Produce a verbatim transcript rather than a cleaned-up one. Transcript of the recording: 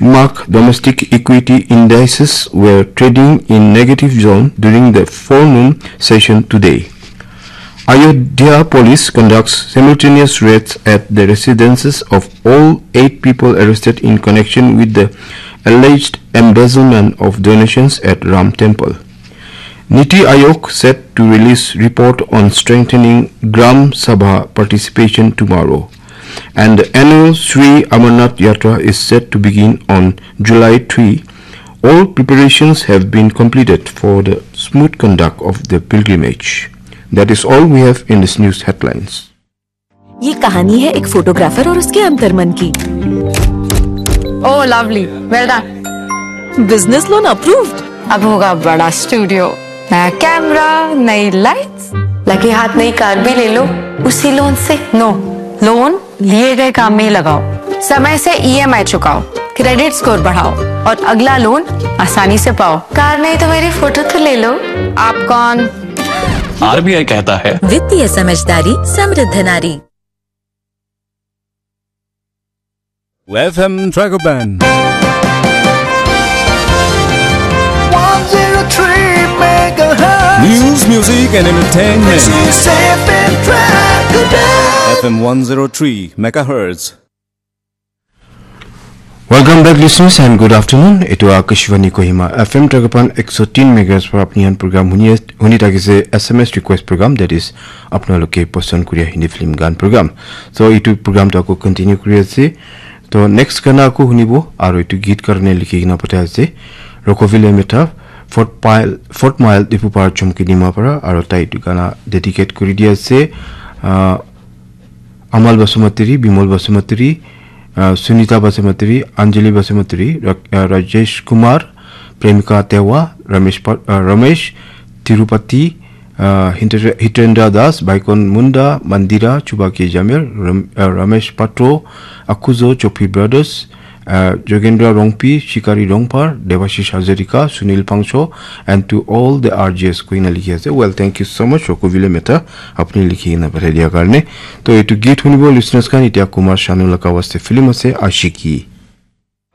mark domestic equity indices were trading in negative zone during the forenoon session today. Ayodhya police conducts simultaneous raids at the residences of all eight people arrested in connection with the alleged embezzlement of donations at Ram Temple. Niti Aayog set to release report on strengthening Gram Sabha participation tomorrow. And the annual Sri Amarnath Yatra is set to begin on July three. All preparations have been completed for the smooth conduct of the pilgrimage. That is all we have in this news headlines. ये कहानी है एक फोटोग्राफर और उसके अंतर्मन की। Oh, lovely. Well done. बिजनेस लोन अप्रूव्ड। अब होगा बड़ा स्टूडियो, नया कैमरा, नई लाइट्स। लगे हाथ नई कार भी ले लो उसी लोन से। नो, लोन लिए गए काम में ही लगाओ, समय से ईएमआई चुकाओ, क्रेडिट स्कोर बढ़ाओ और अगला लोन आसानी से पाओ। कार नहीं तो मेरी फोटो तो ले लो। आप कौन? आरबीआई कहता है, वित्तीय समझदारी, समृद्ध नारी। F M Dragon Band. one zero three megahertz. News, music, and entertainment. This is F M Dragon Band. F M one zero three megahertz. Welcome back, listeners, and good afternoon. Etu Akashvani Kohima F M Tragapan ek so tin megahertz para apni han program huni, huni thakise S M S request program, that is, apnaloke pasand kuriya Hindi film gan program. So, etu program to ako continue kuri ase. To next gana ako hunibo, aru etu git karne likhi kena pathai ase. Rokovile Metha, Fort Pile, Fort Mile, Dipupar Chomkidima para, aru tai etu gana dedicate kuri di ase. Ah, Amal Basumatary, Bimol Basumatary, uh, Sunita Basumatary, Anjali Basumatary, Ra- uh, Rajesh Kumar, Premika Tewa, Ramesh, Pa- uh, Ramesh Tirupati, uh, Hindra- Hitendra Das, Baikon Munda, Mandira Chubaki Jamir, Ram- uh, Ramesh Patro, Akuzo Chopi Brothers, uh, Jogendra Rongpi, Shikari Rongpar, Devashish Hazarika, Sunil Pangcho, and to all the R J S koina likhi ase. Well, thank you so much, Rokovile Mehta, apni likhi kena pathai dia karne. To etu git hunibo listeners khan, etia Kumar Sanu laga waste film ase, Ashiki.